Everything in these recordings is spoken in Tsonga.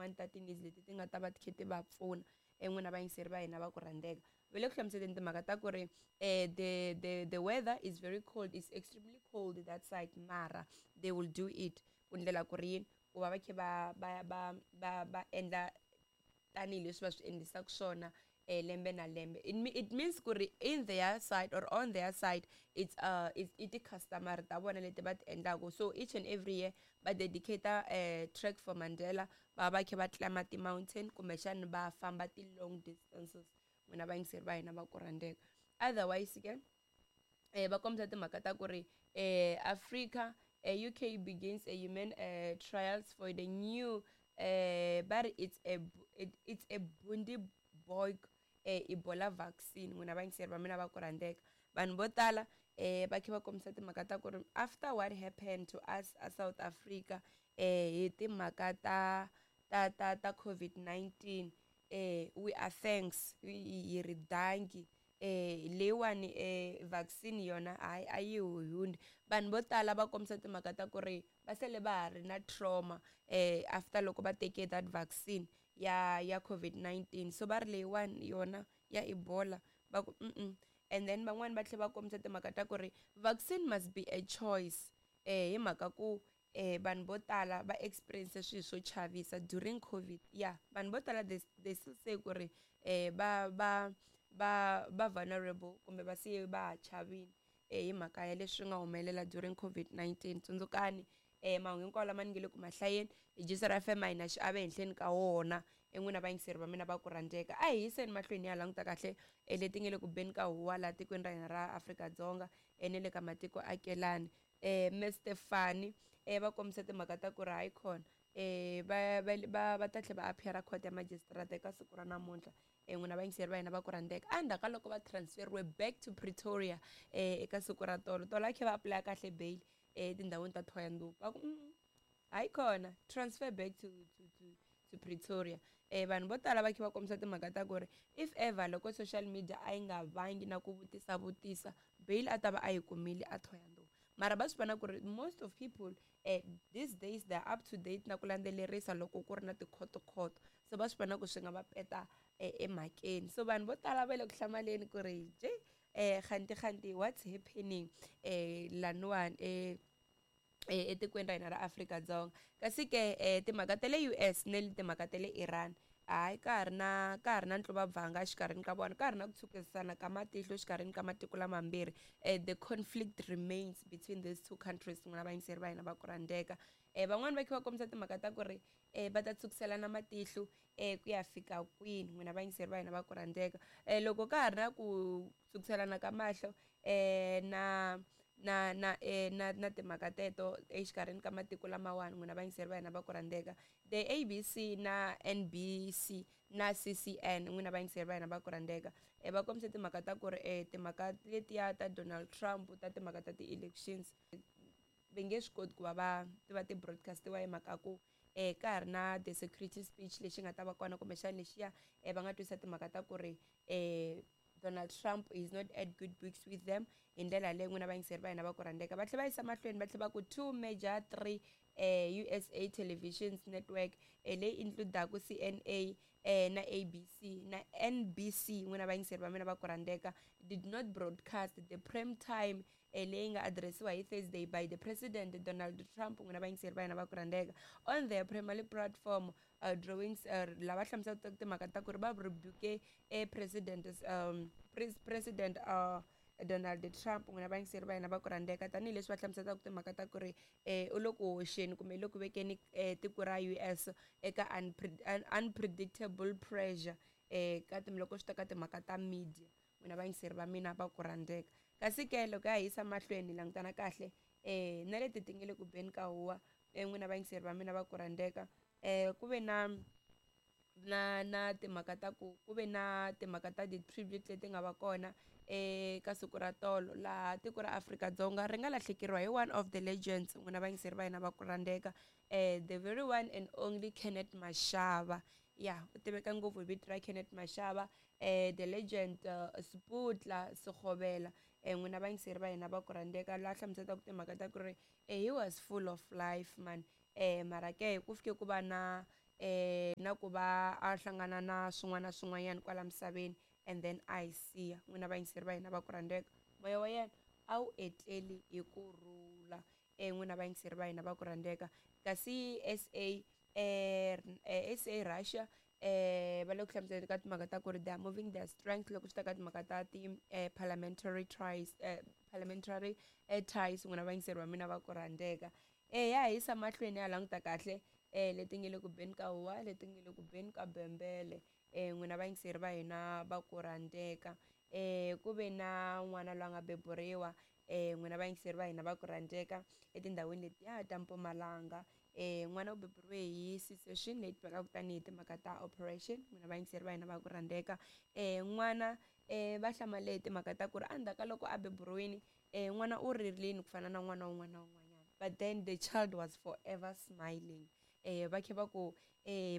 tin'wani ta ti-needs leti ti nga ta va ti kha ti va pfuna. N'wina vayingiseri va hina va ku rhandzeka, va le ku hlamuseleni timhaka ta ku ri the weather is very cold, is extremely cold that side, mara they will do it ku ndlela ku ri yini ku va va kha va endla tanihileswi va swi endlisaka swona lembe na lembe. It means ku ri in their side or on their side, it's i ti-customer ta vona leti va ti endlaku. So each and every year va dedicate Trek for Mandela, va va kha va climb ti-mountain kumbexani va famba ti-long distances, n'wina vayingiseri va hina va ku rhandzeka. Otherwise ke va kombisa timhaka ta ku ri Africa, UK begins a human trials for the new, va ri it's a Bundibugyo Ebola vaccine. N'wina vayingiseri va mina va ku rhandzeka, vanhu vo tala va kha va kombisa timhaka ta ku ri after what happened to us a South Africa hi timhaka ta COVID-19, we are thanks, hi ri dankie. Leyiwani vaccine yona hayi, a yi hundzi. Vanhu vo tala va kombisa timhaka ta ku ri va sele va ha ri na trauma after loko va teke that vaccine ya COVID-19. So va ri leyiwani yona ya Ebola, va ku And then van'wani va tlhela va kombisa timhaka ta ku ri vaccine must be a choice, hi mhaka ku vanhu vo tala va experience swilo swo chavisa during COVID. Ya, vanhu vo tala they still say ku ri va vulnerable kumbe va siye va ha chavini hi mhaka ya leswi nga humelela during COVID-19. Tsundzukani, mahungu hinkwawo lama ni nge le ku mahlayeni hi Jisara FM, a hi na xiave henhleni ka wona. En'wina vayingiseri va mina va ku rhandzeka, a hi yiseni mahlweni ya languta kahle leti nge le ku beni ka huwa laha tikweni ra hina ra Afrika-Dzonga na le ka matiko akelani. Mr Fani va kombisa timhaka ta ku ri hayi khona, va ta tlhela va appear court ya magistrate eka siku ra namuntlha, n'wina vayingiseri va hina va ku rhandzeka, endzhaku ka loko va transferiwe back to Pretoria eka siku ra tolo tolo. A kha va apply kahle bail etindhawini ta Thohoyandou, va ku hayi khona, transfer back to Pretoria. Vanhu vo tala va kha va kombisa timhaka ta ku ri if ever loko social media a yi nga vangi na ku vutisa vutisa, bail a ta va a yi kumile a Thohoyandou. Mara va swi vona ku ri most of people these days they are up to date na ku landzelerisa loko ku ri na tikhoto-khoto, so va swi vona ku swi nga va peta emhakeni. So vanhu vo tala va le ku hlamaleni ku ri je khanti khanti what's happening laniwani etikweni ra hina ra Afrika-Dzonga. Kasi ke timhaka ta le US ne le timhaka ta le Iran, hayi, ka ha ri na ntluvabvanga exikarhini ka vona, ka ha ri na ku tshukisana ka matihlo exikarhini ka matiko lamambirhi. The conflict remains between these two countries, n'wina vayingiseri va hina va ku rhandzeka. Van'wani va kha va kombisa timhaka ta ku ri va ta tshukiselana matihlo ku ya fika kwini, n'wina vayingiseri va hina va ku rhandzeka? Loko ka ha ri na ku tsukiselana ka mahlo na timhaka teto exikarhini ka matiko lamawani, n'wina vayingiseri va hina va ku rhandzeka, the ABC na NBC na CCN, n'wina vayingiseri va hina va ku rhandzeka, va kombise timhaka ta ku ri timhaka letiya ta Donald Trump ta timhaka ta ti-elections va nge swi koti ku va va ti va ti-broadcastiwa, hi mhaka ku ka ha ri na the security speech lexi nga ta va kona, kumbexana lexiya va nga twisa timhaka ta ku ri Donald Trump is not at good books with them. Hi ndlela yaleyo, n'wina vayingiseri va hina va ku rhandzeka, va tlhela va yisa mahlweni va tlhela va ku two major three USA televisions network leyi includaku CNA na ABC na NBC, n'wina vayingiseri va mina va ku rhandzeka, did not broadcast the prime time leyi nga addressiwa hi Thursday by the President Donald Trump, n'wina vayingiseri va hina va ku rhandzeka, on their primary platform drawings. Lava hlamuselaka timhaka ta ku ri va rebuke president president Donald Trump, n'wina vayingiseri va hina va ku rhandzeka, tanihileswi va hlamuselaka timhaka ta ku ri u le ku hoxeni kumbe le ku vekeni tiko ra US eka unpredictable pressure ka loko swi ta ka timhaka ta media, n'wina vayingiseri va mina va ku rhandzeka. Kasi ke loko ya hi yisa mahlweni hi langutana kahle na leti ti nge le ku beni ka huwa, n'wina vayingiseri va mina va ku rhandzeka, ku ve na timhaka ta ku ku ve na timhaka ta ti-tribute leti nga va kona eka siku ra tolo, laha tiko ra Afrika-Dzonga ri nga lahlekeriwa hi one of the legends, n'wina vayingiseri va hina va ku rhandzeka, the very one and only Kenneth Mashaba. Ya, u tiveka ngopfu hi vito ra Kenneth Mashaba, the legend, Sputla Sekgobela, n'wina vayingiseri va hina va ku rhandzeka, laha hlamuselaka timhaka ta ku ri he was full of life, man. Mara ke ku fike ku va na na ku va a hlangana na swin'wana na swin'wanyana kwala misaveni and then a hi siya. N'wina vayingiseri va hina va ku rhandzeka, moya wa yena a wu etleli hi ku rhula. N'wina vayingiseri va hina va ku rhandzeka. Kasi SA SA Russia va le ku hlamuseleni ka timhaka ta ku ri they are moving their strength loko swi ta ka timhaka ta ti parliamentary tries parliamentary ties. N'wina vayingiseri va mina va ku rhandzeka, ya hisa mahlweni ya languta kahle leti nge le ku beni ka huwa, leti nge le ku beni ka bembele. N'wina vayingiseri va hina va ku rhandzeka, ku ve na n'wana loyi a nga beburiwa, n'wina vayingiseri va hina va ku rhandzeka, etindhawini letiya ta Mpumalanga. N'wana u beburiwe hi C-section leyi tivekaka tanihi timhaka ta operation. N'wina vayingiseri va hina va ku rhandzeka, n'wana va hlamale hi timhaka ta ku ri endzhaku ka loko a beburiwile, n'wana u ririni ku fana na n'wana wun'wana na wun'wanyana, but then the child was forever smiling. Va khe va ku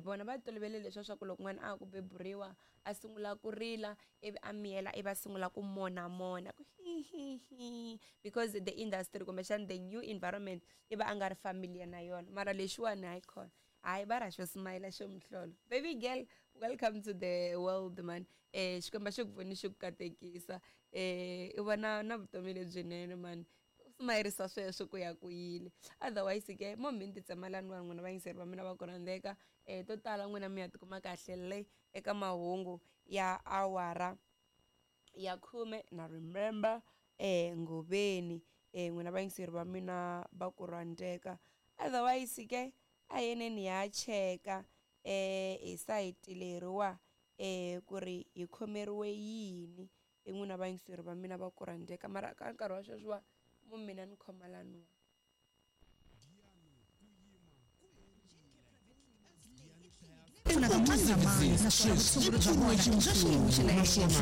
vona va tolovele leswiya swa ku loko n'wana a ha ku beburiwa a sungula ku rila ivi a miyela ivi a sungula ku monamona ku hihihi, because the industry kumbexana the new environment i va a nga ri familiar na yona. Mara lexiwani hayi khona, hayi va ra xo smile xo muhlolo. Baby girl, welcome to the world man. Xikwembu xi ku pfuni xi ku katekisa, i vona na vutomi lebyinene man, smayirisa sweswo ku ya ku yile. Otherwise ke mo mi ni titsemelani vanhu, n'wina vayingiseri va mina va ku rhandzeka, to tala n'wina mi ya tikuma kahle le eka mahungu ya awara ya 10 na remember Ngoveni, n'wina vayingiseri va mina va ku rhandzeka. Otherwise ke a yeneni ha cheka hi sayiti leriwa ku ri hi khomeriwe yini, n'wina vayingiseri va mina va ku rhandzeka. Mara ka nkarhi wa sweswiwa mo mina ni khoma laniwa. Naswona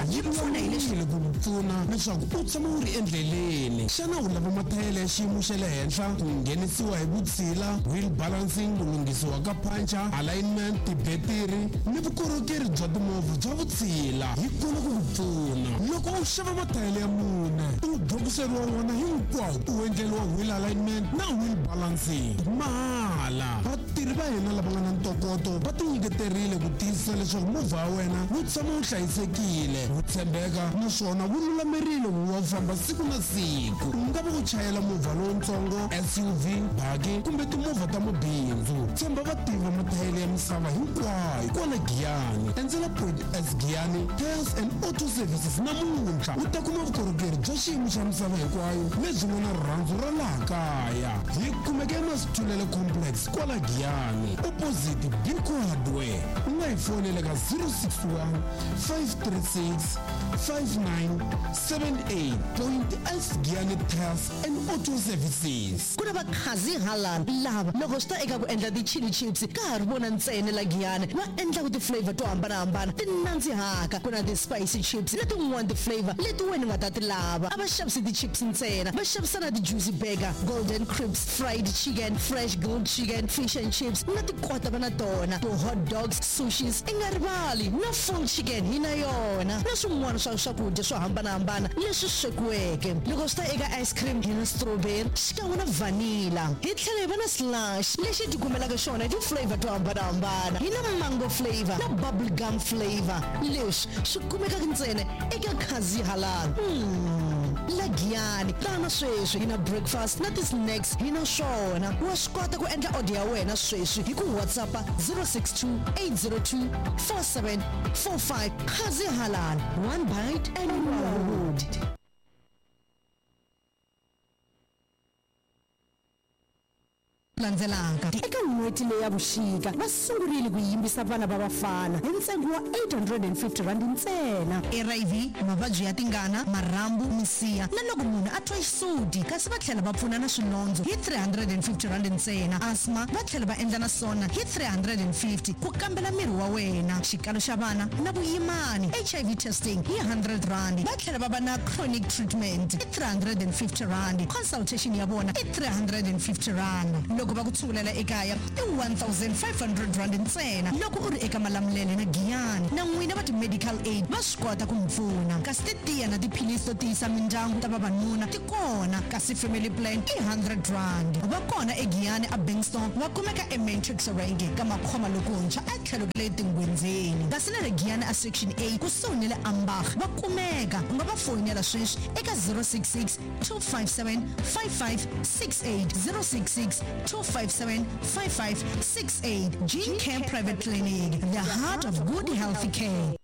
yi lulamile ku ku pfuna leswaku u tshama u ri endleleni. Xana u lava mathayele ya xiyimo xa le henhla, ku nghenisiwa hi vutshila, wheel balancing, ku lunghisiwa ka puncher, alignment, tibetiri ni vukorhokeri bya timovha bya vutshila? Hi kona ku ku pfuna. Loko u xava mathayele ya mune, u bokiseriwa wona hinkwawo, u endleriwa wheel alignment na wheel balancing mahala. Vatirhi va hina lava nga na ntokoto va tinyiketerile ku tiyisisa leswaku movha wa wena wu tshama wu hlayisekile, wu tshembeka naswona wu lulamerile ku va wu famba siku na siku. U nga va u chayela movha lowutsongo, SUV, baki kumbe timovha ta mabindzu, tshemba vativi va mathayele ya misava hinkwayo kwala Giyani. Endzela Point S Giyani Tyres and Auto Services namuntlha u ta kuma vukorhokeri bya xiyimo xa misava hinkwayo lebyi nga na rirhandzu ra laha kaya. Hi kumeka eMasithulele Complex kwala Giyani, opposite Biko Hardware. U nga hi fonela ka 061 536 5978. Point S Giyani Tyres and Auto Services. Ku na va Khazi Halal lava loko swi ta eka ku endla ti chilli chips ka ha ri vona ntsena la Giyani va endlaku ti flavour to hambanahambana ti nandzihaka. Ku na ti spicy chips na tin'wana ti flavour leti wena u nga ta ti lava. A va xavisi ti chips ntsena, va xavisa na ti juicy burger, golden crisps, fried chicken, fresh grilled chicken, fish and chips na tikota va na tona, ti hot dogs, sushis, i nga rivali na full chicken hi na yona na swin'wana swa swakudya swo hambanahambana leswi swekiweke. Loko swi ta eka ice cream hi na strawberry xikan'we na vanilla. Hi tlhela hi va na slush lexi hi tikumelaka xona hi ti flavour to hambanahambana. Hi na mango flavour na bubble gum flavour. Leswi swi kumekaka ntsena eka Khazi Halal. La Giyani, tana sweswi hi na breakfast na ti-snacks hi na swona. Wa swi kota ku endla order ya wena sweswi hi ku WhatsApp-a 062 802 4745. Khazi Halal, one bite and you are hooked. Landzelaka. Eka n'hweti leyi ya vuxika, va sungurile ku yimbisa vana va vafana hi ntsengo wa R850 ntsena. HIV, mavabyi ya tingana, marhambu, misiha na loko munhu a twa xisuti, kasi va tlhela va pfuna na swilondzo hi R350 ntsena. Asthma va tlhela va endla na swona hi R350 ku kambela miri wa wena, xikalo xa vana na vuyimani, HIV testing hi R100. Va tlhela va va na chronic treatment i R350, consultation ya vona i R350. Loko. Loko va ku tshungulela ekaya i R1500 ntsena loko u ri eka Malamulele na Giyani. Na n'wina va ti-medical aid va swi kota ku mi pfuna. Kasi titiya na tiphilisi to tiyisa mindyangu ta vavanuna ti kona, kasi family plan i R100. Va kona eGiyani a Bankston, va kumeka eMatrix Rank ka Makhoma lokuntshwa etlhelo ka le Tingwenzeni. Kasi na le Giyani a Section A kusuhi ni le Ambach va kumeka. U nga va foyinela sweswi eka 066 257 5568, 066 257 5568. Gene Care Private Clinic, the heart of good healthy care.